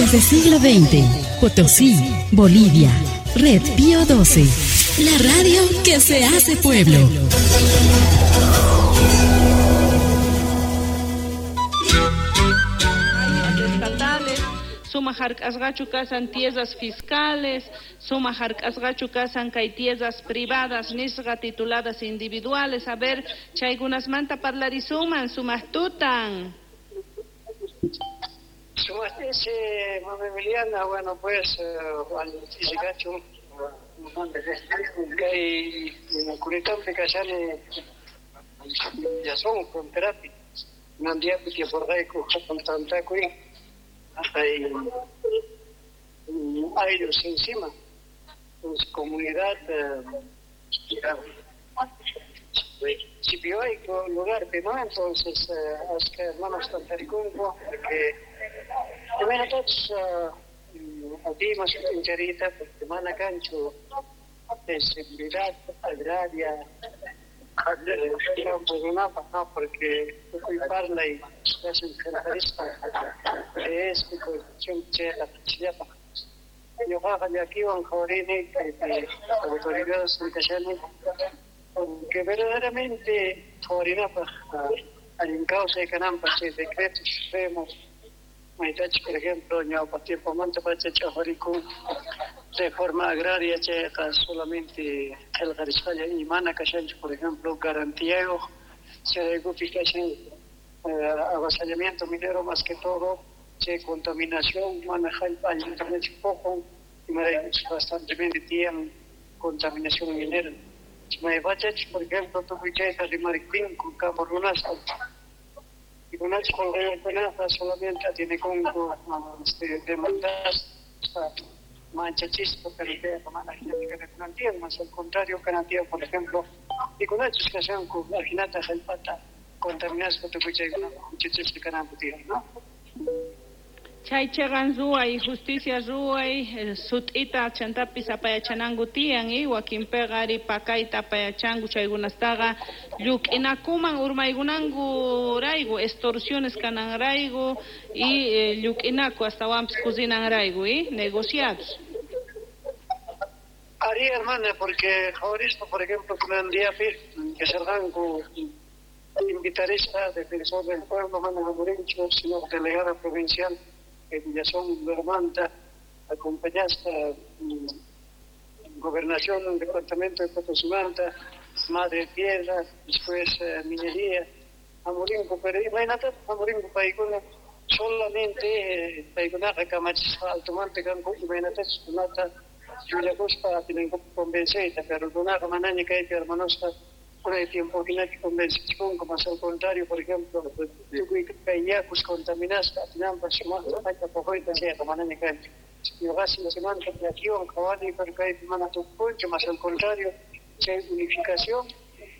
Desde siglo XX, Potosí, Bolivia. Red Pío 12. La radio que se hace pueblo. Estatales, sumaj hark'asqachu kasan tierras fiscales, sumaj hark'asqachu kasan kay tierras privadas nisqa tituladas individuales. A ver, chaykunasmanta parlarisuman, sumaj tutan. Sumaj ese, mami Emiliana, bueno, pues, al kay Curitampi kashani Villazón fronterapi nandiapi tiyaporqayku hatun tantakuy hay ayllus encima, pues comunidad Chipioaico lugarpi, ¿no? Entonces, ashka hermanos tantarikunku porque imaynatachus atimas sut'inchariyta porque mana kanchu seguridad agraria campo runapaj, ¿no? Porque tukuy parlay kashan qillqarispa es constitución chayqa chillapaj ñuqaqa llakiwan qhawarini kaypi autoridades kashani porque verdaderamente qhawarinapaj allin kawsay kananpaj chay decreto supremo maytachu, por ejemplo, ñawpaq tiempomanta pacha ch'aqwarikun reforma agraria chayqa solamente qillqarisqalla y mana kashanchu, por ejemplo, garantiyayuq chayraykupi kashan avasallamiento minero más que todo, chay contaminación mana jallp'a allintañachu puqun imaraykuchus bastantemente tiyan contaminación minera. Maypachachus, por ejemplo, tukuy chayta rimariptinku campo runasqa pikunachus qulqiyuqkunaqa solamente atienekunku demandaspa manchachispa, pero chayqa mana ajinachu kanakunan tiyan, más al contrario kanan tiyan, por ejemplo, pikunachus kashanku ajinata jallp'ata contaminaspa tukuy chaykunaqa huchachisqa kananku tiyan, ¿no? Chay chiqan ruway, justicia ruway, sut'ita chantapis apayachananku tiyan, y wakinpiqa ari pakayta apayachanku chaykunastaqa lluk'inakuman urmaykunankurayku, extorsiones kananrayku y lluk'inaku astawanpis kusinanrayku, y negociados. Ari, hermana, porque qhawarispa, por ejemplo, kunan diapi kasharqanku invitarispa defensor del pueblo mana hamurinchu, sino delegada provincial Villazón Bermanta, acompañasta gobernación del departamento de Potosí-Manta, Madre Tierra, después minería, hamurinko, pero imaynataq hamurinko paykuna solamente paykunaqa kamachisqa altomanta kanku imaynatachus runata llullakuspa atinankupi convenceyta, pero runaqa manaña kaypi hermanosqa unay tiempo hinachu convencichikunku, más al contrario, por ejemplo, tukuy kay yakus contaminasqa atinanpaq sumaqta jallp'a puquyta chayqa manaña kanchu. Ñuqasi chaymanta llakiwan qhawani, pero kaypi mana tukukunchu, más al contrario, chay unificación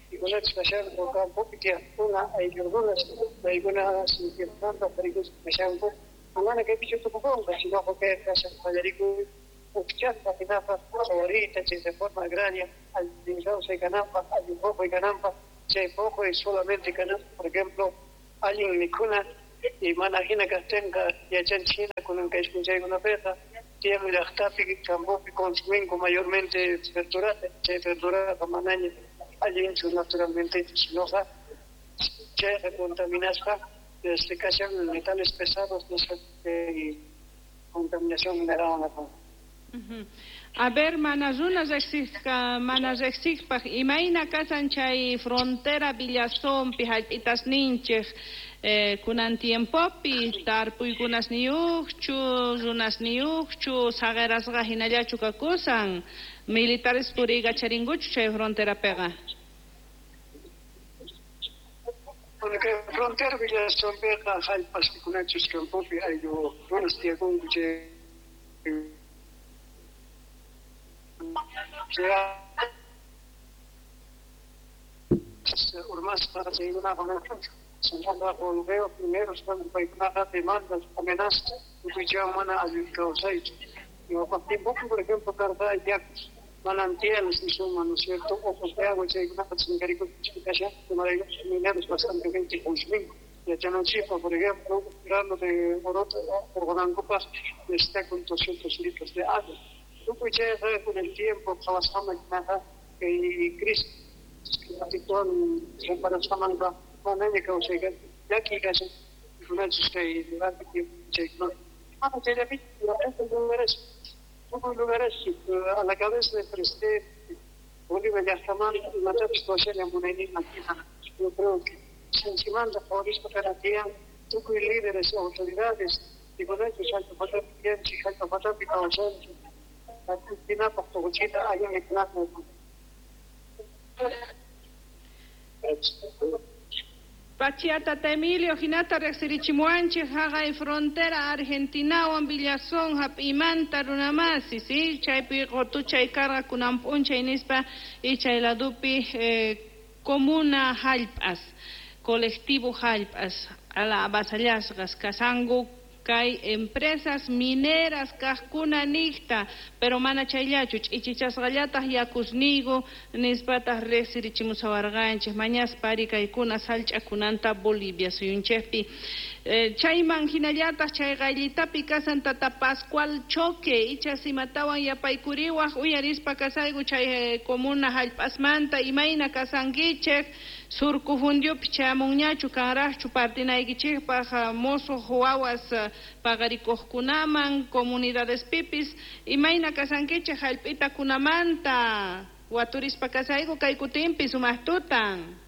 pikunachus kashanku campopi tiyaqkuna ayllu runas paykuna sintienmanta parikuspa kashanku mana kaypichu tukukunqa, sino kay kashan qallarikuy ujchaspa hinapaq qhawariyta chay reforma agraria allin kawsay kananpaq, allin puquy kananpaq, chay puquy solamente kananpaq, por ejemplo, allin mikhuna y mana hina kaqtinqa yachanchik hina kunan kay p'unchaykunapiqa tiyan llaqtapi campopi consuminku mayormente verdurata, chay verduraqa manaña allinchu naturalmente, sinoqa chayqa contaminaspa kashan metales pesados, no contaminación mineral. A ver, mana runa riqsisqa, mana riqsiqpaq imayna kasan chay frontera Villazonpi hallp'itasninchik kunan tiempopi tarpuykunasniyuqchu, runasniyuqchu, saqirasqa hinallachu kakusan, militares puriykacharinkuchu chay fronterapiqa? Bueno, kay frontera Villazonpiqa hallp'as pikunachus campopi ayllu runas tiyakunku chay urmasqa chaykunaqa sinaqa qulqiyuq mineros paykunaqa demandas, amenazas tukuy chaywan mana allin kawsaychu. Ñawpaq tiempopi, por ejemplo, karqa yakus manantiales nisunman, ¿no es cierto? Ojos de agua chaykunaqa chinkarikushpa kashan, imaraykuchus mineros bastantemente consuminku. Yachananchikpaq, por ejemplo, un grano de orota urqunankupaq necesitakun 200 litros de agua. Tukuy chayqa con el tiempo qhawasqaman hinaqa kay crisis climáticowan reparasqamanqa manaña kawsay llakiy kashan kunanchis kay durante tiempo chaykuna. Mana chayllapichu lugares, tukuy lugares a la cabeza del presidente Bolivia llaqtamanta imatapis ruwashallan munayninman hina. Yo creo que sinchimanta qhawarispa kanan tiyan tukuy líderes, autoridades, pikunachus jallp'a patapi tiyanchik, jallp'a patapi kawshanchik, hinapaq tukuchita allin mikhunata. Pachiata Emilio hinata riqsirichimuwanchik haqay frontera Argentinawan Villazón hap'imanta runamasi, sí, chaypi qutuchay karqa kunan p'unchay nispa y chay ladupi comuna hallp'as, colectivo hallp'as, ala avasallasqas kasanku kay empresas mineras kaqkuna niqta, pero mana chayllachu ch'ichichasqallataq yakusniyku nispataq riqsirichimusawarqanchik mañaspa ari kaykuna sallch'akunanta Bolivia suyunchikpi. Chayman hinallataq chay qayllitapi kasan tata Pascual Choque ichas imatawan yapaykuriwaq uyarispa kasayku chay comuna hallp'asmanta imayna kasankichik surku fundiopi chayamunñachu kanraqchu partinaykichikpaq musuq wawas paqarikuqkunaman comunidadespipis imayna kasankichik hallp'itakunamanta waturispa kasayku kay kutinpi sumaq tutan.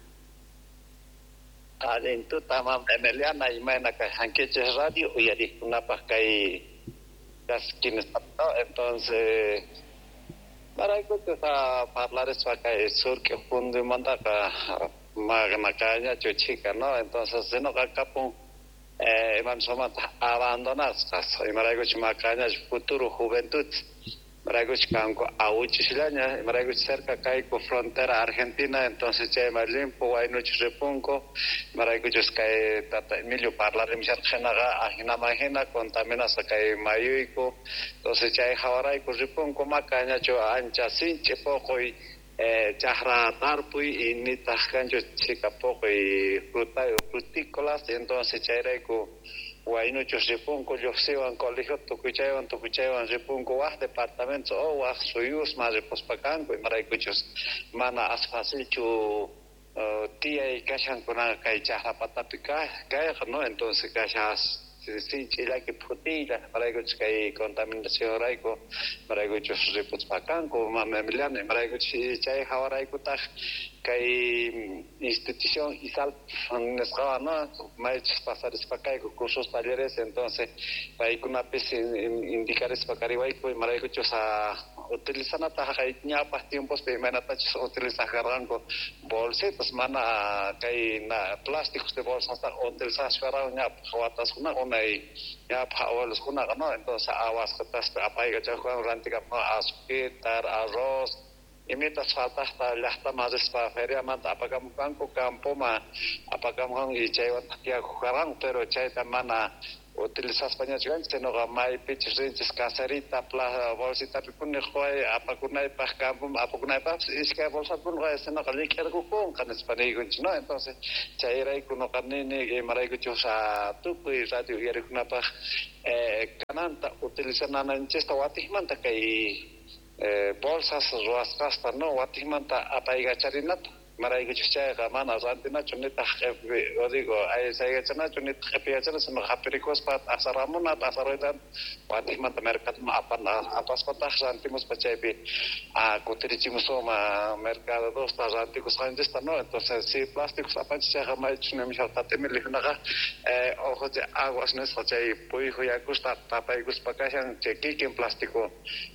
Allin tuta mam Emiliana imayna kashankichik radio uyariqkunapaq kay kaskinispa, entonces maraykuchus parlarispa kay surk'i fundimantaqa maqnaqañachu chhika, ¿no? Entonces sinoqa kapun imanisqamanta abandonasqas imaraykuchus maqañachu futuro juventud imaraykuchus kanku awuchisllaña imaraykuchus cerca kayku frontera Argentina, entonces chayman limpu waynuchus ripunku imaraykuchus kay tata Emilio parlarimusharqa hinaqa ajinaman hina contaminasqa kay mayuyku, entonces chay hawarayku ripunku maqañachu ancha sinch'i puquy chaqra tarpuy y nitaq kanchu chhika puquy fruta frutícolas, entonces chayrayku waynuchus ripunku lluqsiwan colegio tukuy chaywan ripunku waq departamento o waq suyusman ripuspa kanku imaraykuchus mana as facilchu tiyay kashan kunaqa kay chaqra patapi kayqa, ¿no? Entonces kashan sinch'i llaki phutiylla imaraykuchus kay contaminacionrayku imaraykuchus ripuspa kanku mama Emiliana imaraykuchus chay hawaraykutaq kay institución ISALP nisqawan, ¿no? Maychus pasarispa kayku cursos talleres, entonces paykunapis indicarispa kariwayku imaraykuchus utilizanata haqay ñawpaq tiempospi imaynatachus utilizaq karqanku bolsitas mana kay plásticos de bolsasta utilizashkarqanku ñawpaq wataskunaqa unay ñawpaq abueloskunaqa, ¿no? Entonces awasqataspi apaykachaqwan rantikamuq azuquita, arroz, imitas faltaqta llaqtaman rispa feriamanta apakamuqkanku campoman apakamuqkanku y chaywantaq tiyakuq karqanku, pero chayta mana utilizaspañachu kanchik, sinoqa maypichus rinchis caserita bolsitapi puni quway apakunaypaq campoman apakunaypaqpis iskay bolsapuni quway sinoqa llik'irqukunqa nispa niykunchik, ¿no? Entonces chayrayku nuqa nini imaraykuchus tukuy radio uyariqkunapaq kananta utilizananchista watiqmanta kay bolsas ruwasqasta, no, watiqmanta apaykacharinata imaraykuchus chayqa mana rantinachu nitaq digo aysaykachanachu nitaq q'ipiyachana sino hapirikuspa t'asaramuna t'asaruyta watiqmanta mercadoman apaspataq rantimuspa chaypi kutirichimusuma mercadosta rantikusqanchista, ¿no? Entonces si plásticos apanchis chayqa maychus nimusharqa Emiliokunaqa ojos de aguas nisqa chay puyju yakusta tapaykuspa kashan chay kikin plástico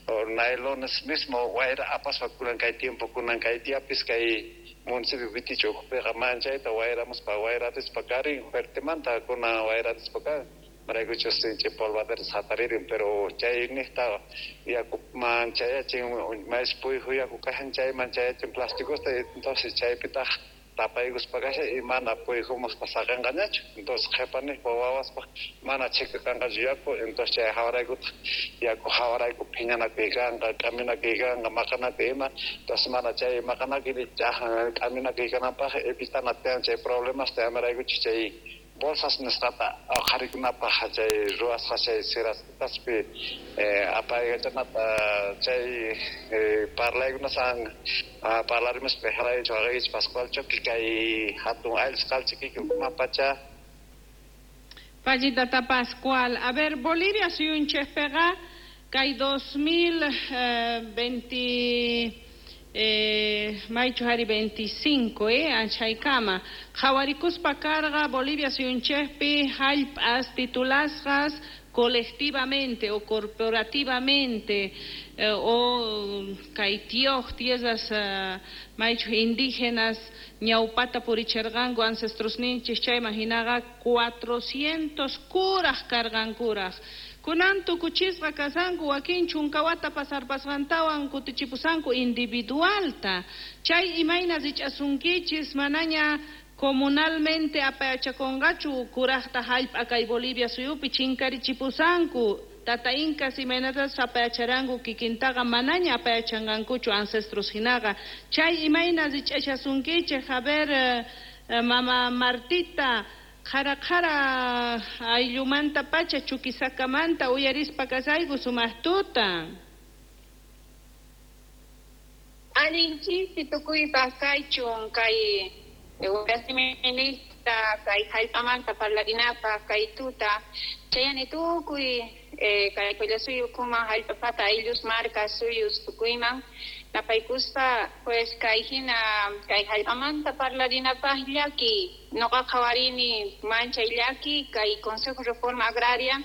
o nailones mismo wayra apaspa kunan kay tiempo kunan kay diapis kay municipio Viticho ukhupiqa manchayta wayramuspa wayrarispa karin fuertemanta kunan wayrarispa kan imaraykuchus sinch'i polvaderas hataririn, pero chay niqta yaku manchayachin mays puyju yaku kashan chayman chayachin plásticosta, entonces chaypitaq tapaykuspa kashan y mana puyjumaqta saqinqañachu, entonces qhipaniqpa wawaspaq mana chhika kanqachu yaku, entonces chay hawaraykutaq yaku hawarayku phiñanakuy kanqa k'aminakuy kanqa maqanakuy ima, entonces mana chay maqanakuy k'aminakuy kananpaq evitana tiyan chay problemasta imaraykuchus chay Bolsas nisqata qharikunapaq chay ruwasqa chay sirasqaspi apaykachanata chay parlaykunasan parlarimuspa jaraychu waqaykichik Pascual Choqui kay hatun ayllusqalchikiki umapacha. Pallitata Pascual. A ver, Bolivia suyunchikpiqa kay 2020 maychu hari 25 anchaykama qhawarikuspa karqa Bolivia suyunchikpi hallp'as titulasqas colectivamente o corporativamente o kay tiyoj tierras maychu indígenas ñawpata puricherqanku ancestrosninchik chayman hinaqa 400 kuraj karqankuraj. Kunan tukuchisqa kasanku wakin chunkawata pasarpasqantawan kutichipusanku individualta. Chay imayna rich'asunkichis manaña comunalmente apayachakunqachu kurajta hallp'a kay Bolivia suyupi chinkarichipusanku. Tata Incas imaynatas apayacharanku kikintaqa manaña apayachanqankuchu ancestros hinaqa. Chay imayna rich'ashasunkichik, a ver, mama Martita, qhara qhara ayllumanta pacha Chuquisakamanta uyarispa kasayku sumaq tuta. Allin chisi tukuypaq kaychun kay wasiminista kay hallp'amanta parlarinapaq kay tuta chayani tukuy kay Qullasuyu ukuman hallp'apata ayllus marka suyus tukuyman napaykuspa pues kay hina kay hallp'amanta parlarinapaq llaki noqa qhawarini manchay llaki kay Consejo Reforma Agraria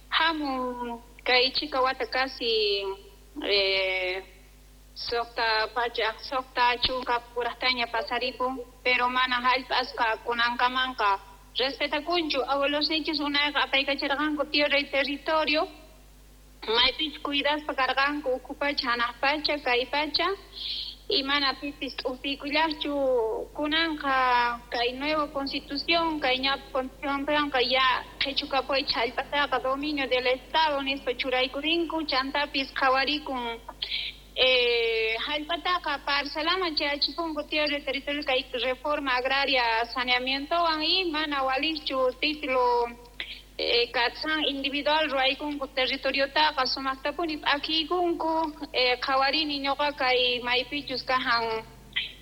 hamun kay chika wata casi suqta pachak suqta chunka puraqtaña pasaripun pero mana hallp'asqa kunankamanqa respetakunchu abuelosninchis unayqa apaykacharqanku tierra y territorio maypich cuidaspa karqanku ukhu pacha hanaq pacha kay pacha y mana pipis t'upiykullaqchu kunanqa kay nueva constitución kay ñawpa constitucionpiqa ya qhichukapuychik hallp'ataqa dominio del estado nispa churaykurinku chantapis qhawarikun hallp'ataqa parcelaman chayachipunku tierra y territorio kay reforma agraria saneamientowan y mana walikchu título katsan individual ruwaykunku territoriotaqa sumaqtapuni p'akiykunku qhawarini ñuqa kay maypichus kajan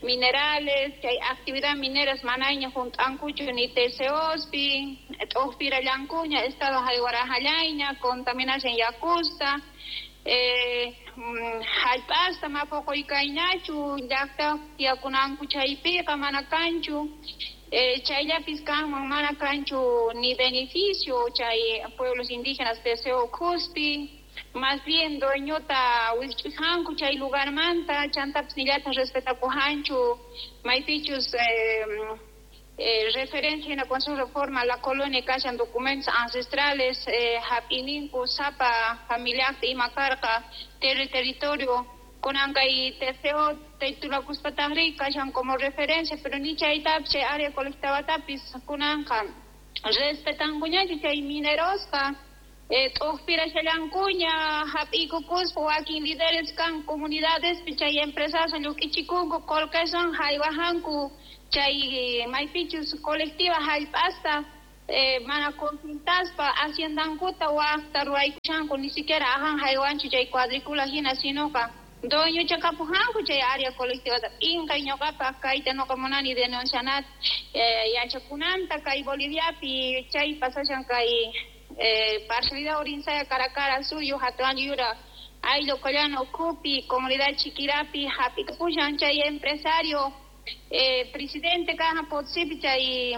minerales chay actividad mineras manaña hunt'ankuchu ni TCOspi t'uqpirallankuña estado haywarajallayña contaminashan yakusta hallp'asta mapuquykayñachu llaqta tiyakunanku chaypiqa mana kanchu chayllapis kanman mana kanchu ni beneficio chay pueblos indígenas TCO ukhuspi más bien dueñota wisq'ujanku chay lugarmanta chantapis nillataq respetakujanchu maypichus referencia en la Consejo de Reforma la colonia kashan documentos ancestrales hap'ininku sapa familiaqta ima karqa territorio kunan kay TCO titulakuspataqri kashan como referencia pero ni chaytapis chay área colectivatapis kunanqa respetankuñachu chay minerosqa t'uqpirashallankuña hap'iykukuspa wakin líderes kan comunidadespi chay empresaswan lluk'ichikunku qullqiswan haywajanku chay maypichus colectiva hallp'asta mana consultaspa haciendankuta waqta ruwaykushanku ni siquiera ajan haywanchu chay cuadrícula hina sinoqa dueñochakapujanku chay área colectivata p'inqay ñuqapaq kayta nuqa munani denuncianat yachakunanta kay Boliviapi chay pasashan kay parcialidad Urinsaya Caracara suyu hatun yura ayllu Collano ukhupi comunidad Chiquirapi hap'ikapushan chay empresario presidente kajan Potosipi chay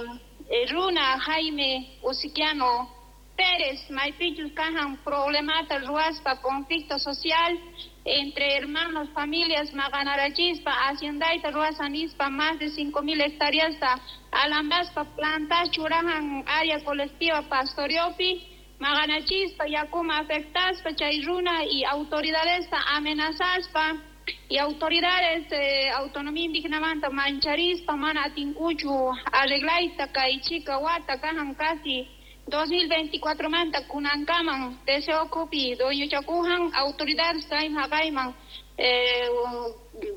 runa Jaime Usiquiano Pérez maypichus kajan problemata ruwaspa conflicto social entre hermanos, familias maqanarachispa haciendayta ruwasan nispa más de 5.000 hectáreasta alambaspa plantas churajan área colectiva pastoriopi maqanachispa yakuma afectaspa chay runa y autoridadesta amenazaspa y autoridades autonomía indígena mancharispa mana atinkuchu arreglayta kay chika wata kajan casi 2024 manta kunankaman TCO kupi dueñochakujan autoridades kayman haqayman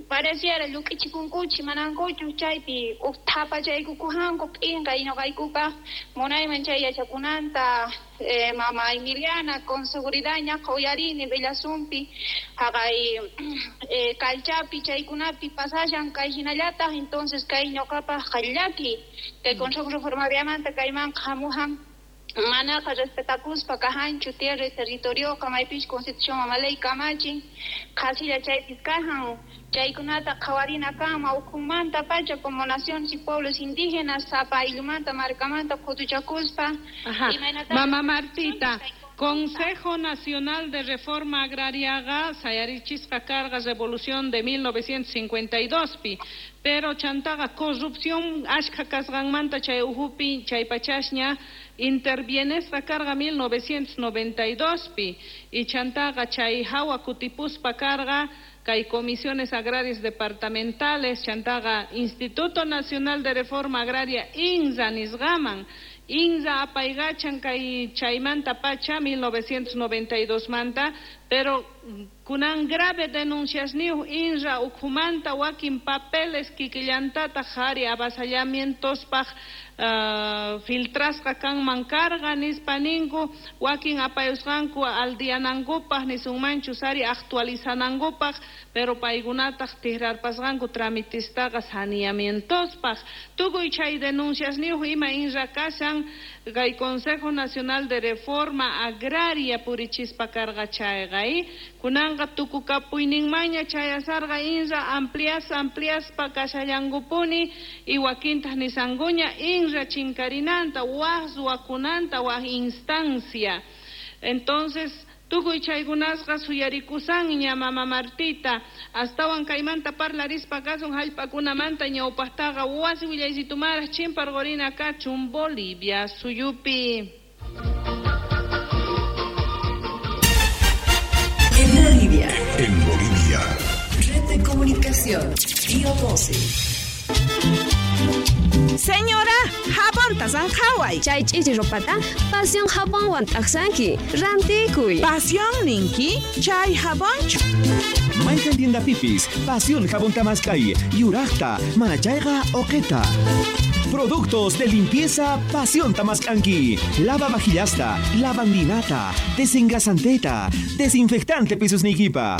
Pareciera lluk'ichikunkuchi manankuchu chaypi uj thapachaykukujanku p'inqay ñuqaykupaq munayman chay yachakunanta mama Emiliana con seguridad ñaqa uyarini Bellazumpi haqay Calchapi chaykunapi pasashan kay hinallataq entonces kay ñuqapaq llaki kay Consejo Reformariamanta kaymanqa hamujan manaqa respetakuspa kajanchu tierra y territorioqa maypish constitución mama ley kamachin qhasilla chaypis kajan chaykunata qhawarina kanman ukhunmanta pacha como naciones y pueblos indígenas sapa ayllumanta markamanta khutuchakuspa. Mama Martita, Consejo Nacional de Reforma Agrariaqa sayarichisqa karqa Revolución de 1952 pi, pero chantaqa corrupción ashkha kasqanmanta chay uhupi chay pachasña intervienesqa karqa 1992 pi, y chantaqa chay hawa kutipuspa karqa kay comisiones agrarias departamentales, chantaqa Instituto Nacional de Reforma Agraria INRA nisqaman. INRA apaygachan kay chaymanta pacha 1992 manta, pero kunan grave denuncias niuj INRA ukhumanta wakin papeles kikillantataq qhari avasallamientospaq filtrasqa kanman karqa nispa ninku, wakin apayusqanku aldianankupaq nisunmanchu sari actualizanankupaq, pero paykunataq tikrarpasqanku tramitistaqa saneamientospaq. Tukuy chay denuncias niuj ima INRA kashan kay Consejo Nacional de Reforma Agraria purichispa karqa chayqa, kunanqa tukukapuyninmaña chayasarqa INRA ampliaspa kashallankupuni y wakintaq nisankuña INRA chinkarinanta waj ruwakunanta waj instancia. Entonces tukuy chaykunasqa suyarikusanña mama Martita, astawan kaymanta parlarispa kasun jallp'akunamanta ñawpaqtaqa wasi willaysitumara chimparqurina kachun Bolivia suyupi. En Bolivia. En Bolivia. Red de Comunicación, Pío 12. Señora, jabonta sanjaway. Chay ch'ichi ropata, pasión jabonwan t'aqsanki. Rantikuy. Pasión ninki, chay jabonchu. Mayqan tiendapipis, pasión jabón tamaskay, yuraqta, manachayqa oqeta. Productos de limpieza Pasión Tamascanqui. Lava vajillasta, lavandinata, desengrasanteta, desinfectante pisusnikipa.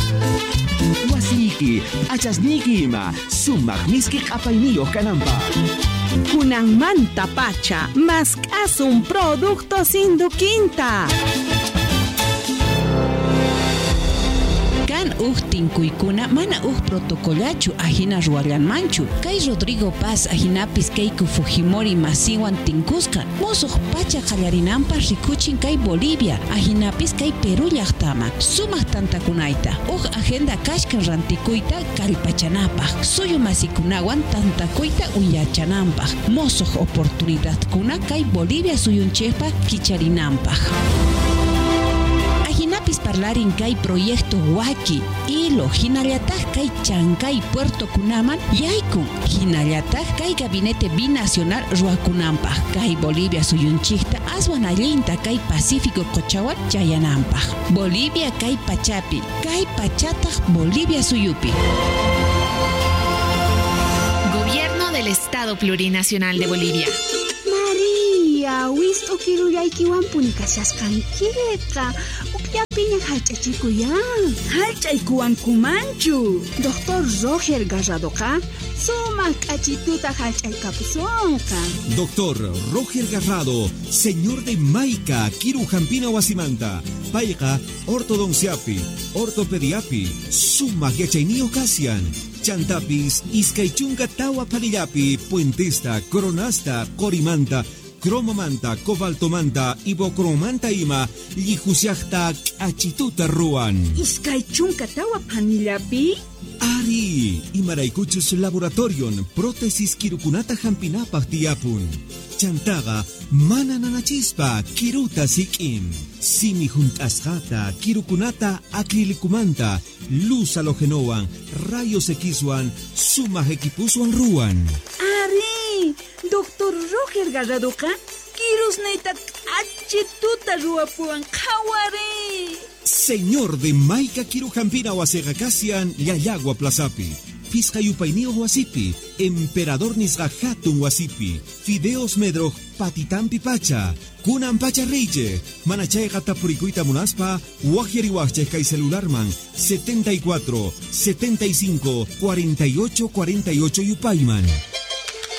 Wasiki, achasniki ima, sumaq miski q'apayniyuq kananpaq. Kunanmanta pacha, mask'asun productos induquinta. Kan uj tinkuykuna mana uj protocolachu ajina ruwallanmanchu. Kay Rodrigo Paz ajinapis Keiko Fujimori masiwan tinkusqa. Mosuq pacha qallarinanpaq rikuchin kay Bolivia ajinapis kay Perú llaqtama. Sumaq tantakunayta. Uj agenda kashkan rantikuyta kallpachanapaq. Suyu masikunawan tantakuyta uyachananpaq. Mosuq oportunidadkuna kay Bolivia suyunchikpa kicharinanpaq. Ajinapis parlarin kay proyecto Waki, Hilo, hinallataq kay Chancay Puerto kunaman yaykun, hinallataq kay gabinete binacional ruwakunanpaq, kay Bolivia suyunchikta aswan allinta kay Pacífico qochawan chayananpaq. Bolivia kay pachapi, kay pachataq Bolivia suyupi. Gobierno del Estado Plurinacional de Bolivia. Maria, wist'u kirullaykiwanpuni kashasqankiqa. Upyapiña hallch'achikuyan. Hallch'aykuwankumanchu. Doctor Roger Garradoqa sumaq k'achituta hallch'aykapusunqa. Doctor Roger Garrado, señor de Maica, Kiru Jampina Wasimanta, payqa ortodonciapi, ortopediapi, sumaq yachayniyuq kasian. Chantapis, iskay chunka tawa palillapi, puentesta, coronasta, qorimanta, cromomanta, cobaltomanta, ibocromanta ima, llijusiaqta k'achituta ruwan. Iskay chunka tawa panillapi? Ari, imaraykuchus laboratorion, prótesis kirukunata hampinapaq tiyapun. Chantaqa mana nanachispa kiruta sik'in. Simi junt'asqata, kirukunata acrilicumanta, luz halogenowan, rayos Xwan, sumaq equipuswan ruwan. Ari, Doctor Roger Garradoqa kirusniyta k'achituta ruwapuwan qhawari. Señor de Maica Kirujampina wasiqa kasian Llallagua Plazapi. Phisqa yupayniyuq wasipi, Emperador nisqa hatun wasipi, Fideos Medroj patitampi pacha, kunan pacha riychej, mana chayqa tapurikuyta munaspa, waqyariwaqchej kay celularman 74 75 48 48 yupayman.